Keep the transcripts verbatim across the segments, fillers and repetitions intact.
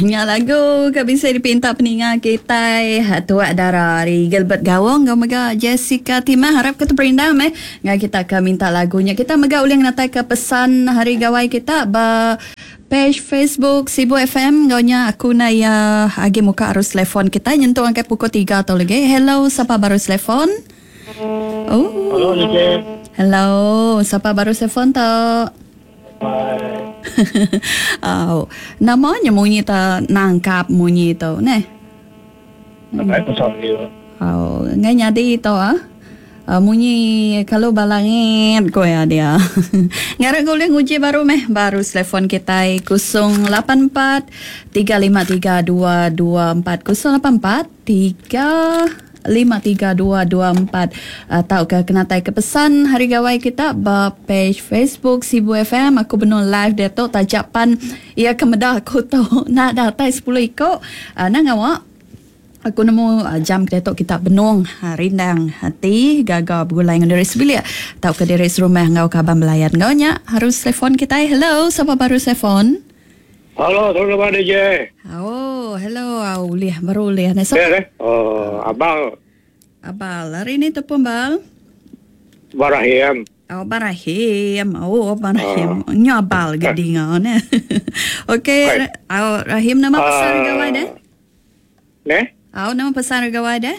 Nya lagu ke bisa dipinta peninga kita Tuak Dara ari Gilbert Gawong ngau mega Jessica Timah. Harap kita perindang meh ngai kita ke minta lagunya. Kita mega ulih ngatai ke pesan hari gawai kita ba page Facebook Sibu F M. Ngau nya aku na ya agi muka arus telefon kita nyentuh angkai pukul tiga atau lagi. Hello, siapa baru telefon? Oh. Hello, D J. Hello, siapa baru telefon tu? Oh, namanya munyi ta nangkap munyi tu neh. Oh, ngai nyadi tu ah. Uh, munyi kalau balangit ko ya dia. Ngarap boleh nguji baru meh baru telefon kita kosong lapan empat tiga lima tiga dua dua empat kosong lapan empat tiga lima tiga dua dua empat atau ke kena tai ke pesan hari gawai kita ba page Facebook Sibu F M. Aku benar live dia tu tajapan ia kemedah aku tu nak datai sepuluh iko uh, nang awak aku nemu uh, jam kita tu kita benung uh, rindang hati gaga bergulai dengan diri sebilik atau ke diri serumah ngau kaban belayan ngau nya harus telefon kita. Hello, siapa baru telefon? Halo, selamat D J. Oh, hello, au ulih baru ulih. Nah, so, eh, oh, abang. Abal, hari ni tu pun bal. Barahim. Oh, Barahim. Oh, Barahim. Oh. Nyo abal gedinga ne. Okey, oh, Rahim nama pasal uh, gawai dah? Ne? Oh, nama pasal gawai dah?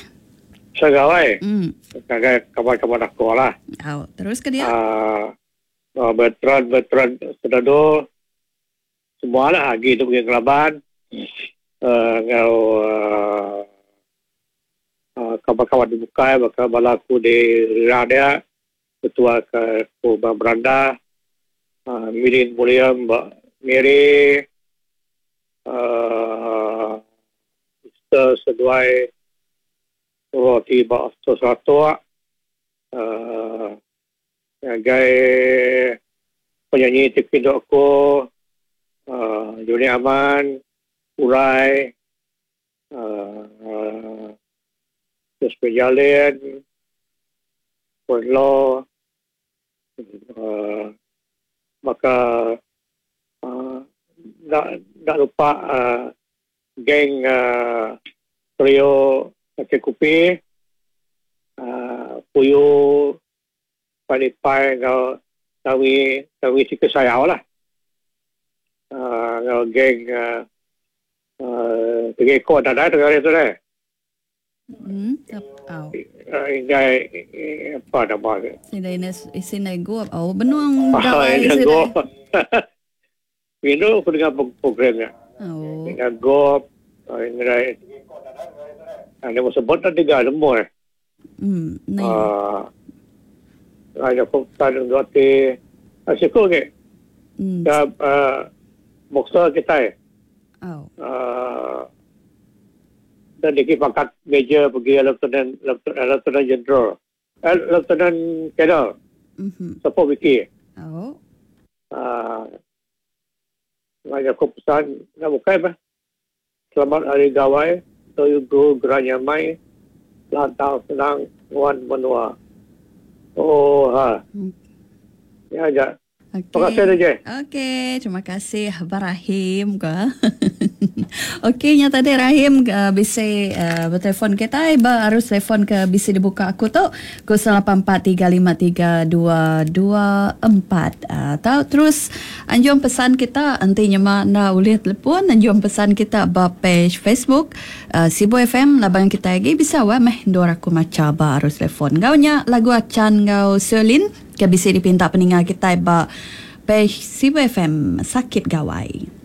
Segawai. Hmm. Kagai kawan-kawan aku lah. Oh, terus ke dia? Ah, uh, veteran veteran sedado semua lah lagi tu pergi kelaban. Uh, ngau uh, uh, kawan-kawan di Bukai, bakal balaku di Rada, ketua ke Kubang Beranda, uh, Mirin Mulia, Mbak Miri, uh, Mister Seduai, Roti Bak Seratuk, uh, sebagai penyanyi T V Doko, uh, Juni Aman, Urai, uh, uh, Terus Pejalin, Puerlo, uh, maka uh, tak, tak lupa uh, geng uh, trio Kaki Kupi, uh, Puyo, Palipai, ngau Tawi, Tawi Sika Sayau lah. Uh, ngau geng uh, uh, tiga ekor dah dah tengah tu dah. Hmm, oh. Ingai apa nama dia? Sini ni sini gua, oh benuang gawai sini. Ini aku dengar programnya. Oh. Dengan gop, ingai. Ada masa sebut tadi tiga semua. Hmm, ni. Ah, ada fokus dan roti. Asyik ke? Hmm. Dah boxer kita. Oh. Ah, dan dia pangkat major pergi lieutenant lieutenant general, eh, lieutenant general. Mhm. Support wiki. Oh. Ah, uh, aku pesan nak buka apa? Selamat hari gawai, toyu go geranyamai, lantang senang wan menua. Oh ha. Hmm. Ya aja. Okay. Terima kasih D J. Okey, terima kasih Barahim ke. Okey, nya tadi Rahim uh, bisa uh, bertelefon kita, eh, harus telefon ke bisa dibuka aku tu kosong lapan empat tiga lima tiga dua dua empat. Uh, tahu terus anjung pesan kita nanti nya nak boleh telefon anjung pesan kita ba page Facebook uh, Sibu F M labang kita lagi bisa wa meh dua aku maca ba harus telefon. Gau nya lagu acan gau Selin ke bisa dipinta peninggal kita ba page Sibu F M Sakit Gawai.